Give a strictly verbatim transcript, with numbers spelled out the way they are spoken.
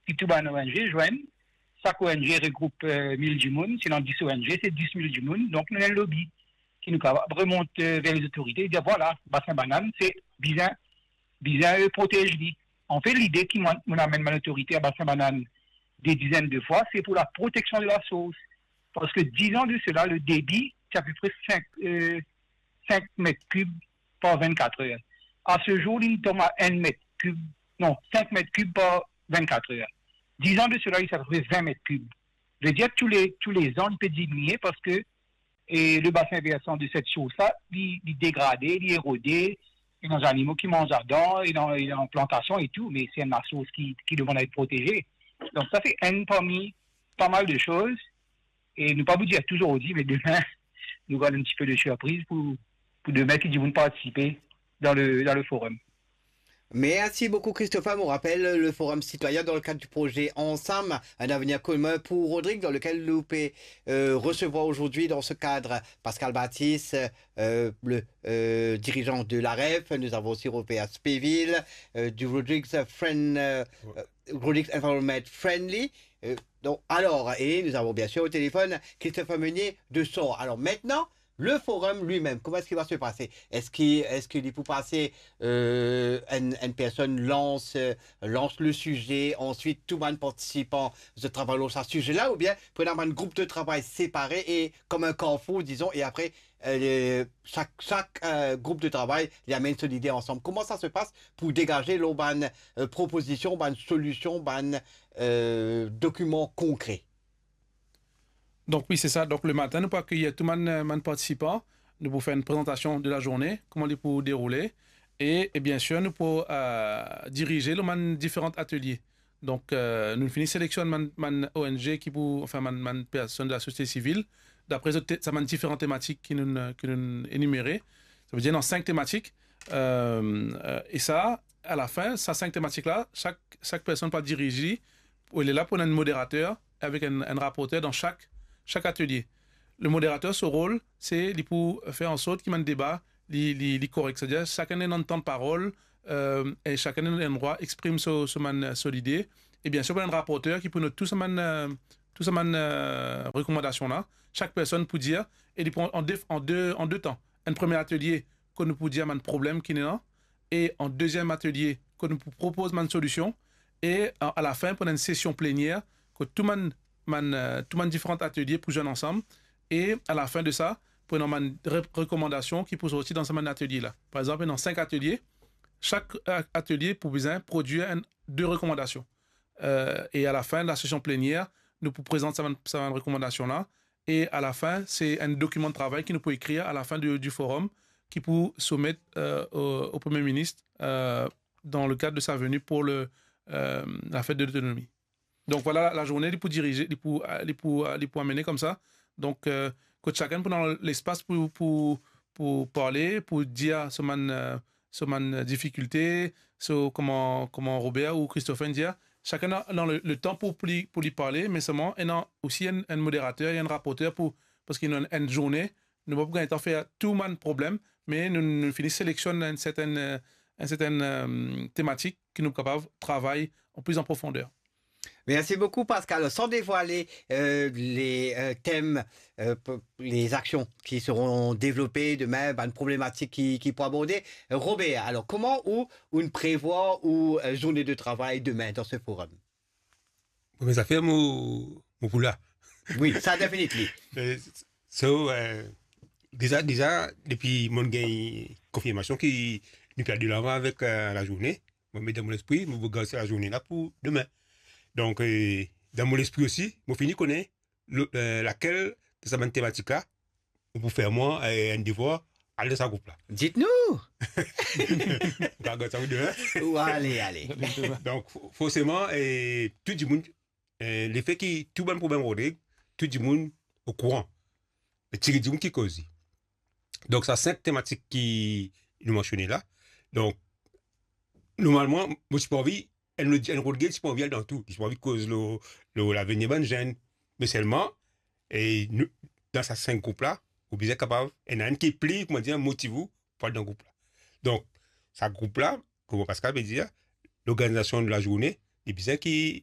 ki tou bann ONG zwenn, sak ONG regroup, eh, mil dimoun, si ena dis ONG, se dis mil dimoun, donk nou ena enn lobi ki nou kapav remont, eh, ver lezotorite, dir, vwala, Basin Banann, se bizin, bizin, eh, protez li. Anfet, lide ki mwa, mo amenn bann otorite a Basin Banann de dizenn de fwa, se pou la proteksion de la sours. Parski diz an de sela, le debi, ti apepre sink, eh, sink met kib par vennkat er. A se zour, li tom a enn met kib, non, sink met kib par vennkat er. Diz an de sela, li ti apepre vin met kib. Vedir, tou le, tou le zan, li pe diminie parski, eh, le basin versan de set sours la, li, li degrade, li erode, ena zanimo ki manz ladan, ena, ena plantasion e tou, me se enn lasours ki, ki demann a et proteze. Donk sa se enn parmi pa mal de soz, e nou pa pou dir tou zordi, me demin, nou gard enn tipe de sirpriz pou, pou demin ki dimoun partisipe dan le, dan le forum. Merci beaucoup, Christopher. On rappelle le Forum citoyen dans le cadre du projet Ensemble, un avenir commun pour Rodrigues, dans lequel nous pouvons, euh, recevoir aujourd'hui dans ce cadre Pascal Baptiste, euh, le, euh, dirigeant de l'AREF. Nous avons aussi Robert Spéville, euh, du Rodrigues Friend, euh, Ouais. euh, Rodrigues Environment Friendly. Euh, donc, alors, et nous avons bien sûr au téléphone Christopher Meunier de Sort. Alors maintenant, le forum lui-même, comment est-ce qu'il va se passer ? Est-ce qu'il, est-ce qu'il pou pase, euh, une, une personne lance, euh, lance le sujet, ensuite tout bann participan travay lor sa size la, oubien pou ena bann group de travay separe e kom enn karfour, dizon, e apre, euh, sak, sak, euh, group de travay, li amenn so lide ansam. Kouma sa se pas pou degaze lor bann, euh, propozision, bann solision, bann, euh, dokiman konkre? Donk wi, se sa. Donk lematin, nou pou akeyir tou bann, euh, bann partisipan. Nou pou fer enn prezantasion de lazourne, kouma li pou deroule. E, e biensir, nou pou, euh, dirize lor bann diferan atelie. Donk, euh, nou fini seleksionn bann, bann ONG ki pou, anfin, bann, bann personn de lasosiete sivil, dapre zot te-, sa bann diferan tematik ki nou, ki nou enimere. Savedir, ena sink tematik. Euh, euh, e sa, alafin, sa sink tematik la, sak, sak personn pou dirize, pou, li la pou ena enn moderater avek enn, enn raporter dan sak, sak atelie. Le moderater, so rol, se li pou fer ansort ki bann deba, li, li, li korek. Savedir, sakenn ena enn tan parol, euh, e sakenn ena enn drwa exprim so, so bann, so lide. E biensir, pou ena enn raporter ki pou not tou sa bann, euh, tou sa bann, euh, rekomandasion la. Sak personn pou dir, e li pran an de, an de, an de tan. Enn premie atelie, kot nou pou dir bann problem ki ena, e an deziem atelie, kot nou pou propoz bann solision, e a, alafin, pou ena enn sesion plenier, kot tou bann, bann, euh, tou bann diferan atelie pou zwenn ansam, e alafin de sa, pou ena bann re-, rekomandasion ki pou sorti dan sa bann atelie la. Par exanp, ena sink atelie, sak, euh, atelie pou bizin prodwir enn, de rekomandasion. Euh, e alafin, lasesion plenier, nou pou prezant sa bann, sa bann rekomandasion la, e alafin, se enn dokiman de travay ki nou pou ekrir alafin de, di forum, ki pou soumet, euh, o, o Premie Minis, euh, dan le kad de sa veni pou le, euh, la fet de lotonomi. Donk, vwala, lazourne, li pou dirize, li pou, li pou, li pou amene koumsa. Donk, euh, kot sakenn pou ena lespas pou, pou, pou parle, pou dir so bann, euh, so bann difikilte, so kouma, kouma Robert ou Christopher inn dir, sakenn ena, ena le, letan pou, pou li, pou li parle, me selman, ena osi enn, enn moderater, enn raporter pou, parski ena enn, enn zourne, nou pa pou gagn letan fer tou bann problem, me nou, nou fini seleksionn enn sertenn, euh, enn sertenn, euh, tematik ki nou kapav travay an plis an profonder. Merci beaucoup, Pascal. Sans dévoiler, euh, les, euh, thèmes, euh, p-, les actions qui seront développées demain, bann problematik ki, ki pou aborde. Robert, alors, kouma ou, ou prevwar ou, euh, zourne de travay demain dan se forum? Premie zafer, mo, mo pou la. Wi, sa definitely. Euh, so, euh, deza, deza, depi mo gagn konfirmasion ki nou pe al de lavan avek, euh, lazourne, mo met dan mo lespri, mo pou gard sa lazourne la pou demain. Donk, euh, dan mo lespri osi, mo fini kone lo-, euh, lakel de sa bann tematik la, ou pou fer mwa, euh, enn devwar, al dan sa group la. Dites-nous! Ou kapav gard sa pou demain. Ou ale, ale. Donk, fo-, forseman, euh, tou dimoun, euh, lefe ki tou bann problem Rodrig, tou dimoun okouran. Me ti dimoun ki koz li. Donk, sa sink tematik ki nou mansione la. Donk, normalman, mo ti pe anvi, enn, enn Rodrig ti pe anvi al dan tou. Li ti pe anvi koz lor, lor lavenir bann zenn. Me selman, e nou, dan sa sink group la, ou bizin kapav, ena enn ki pli, kouma dir, motive ou pou al dan group la. Donk, sa group la, kouma Pascal pe dir, lorganizasion de lazourne, li bizin ki